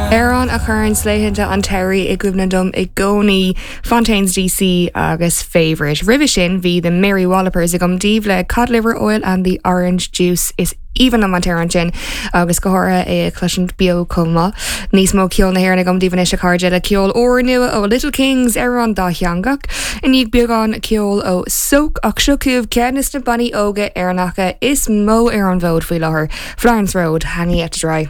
Amhrán a chuireann laethanta an tsamhraidh i gcuimhne dom i gcónaí, Fontaines DC agus Favourite. Roimhe sin bhí The Mary Wallopers agam daoibh le Cod Liver Oil and the Orange Juice. Is aoibhinn liom an t-amhrán sin agus go háirithe é a chloisint beo chomh maith. Níos mó ceol na hÉireann agam daoibh anois a chairde le ceol úrnua ó Little Kings, amhrán dátheangach. I ndiaidh beagán ceoil ó Soak ach seo chugaibh ceann de na bannaí óga Éireannacha is mó ar an bhfód faoi láthair, Florence Road, Hanging Out to Dry.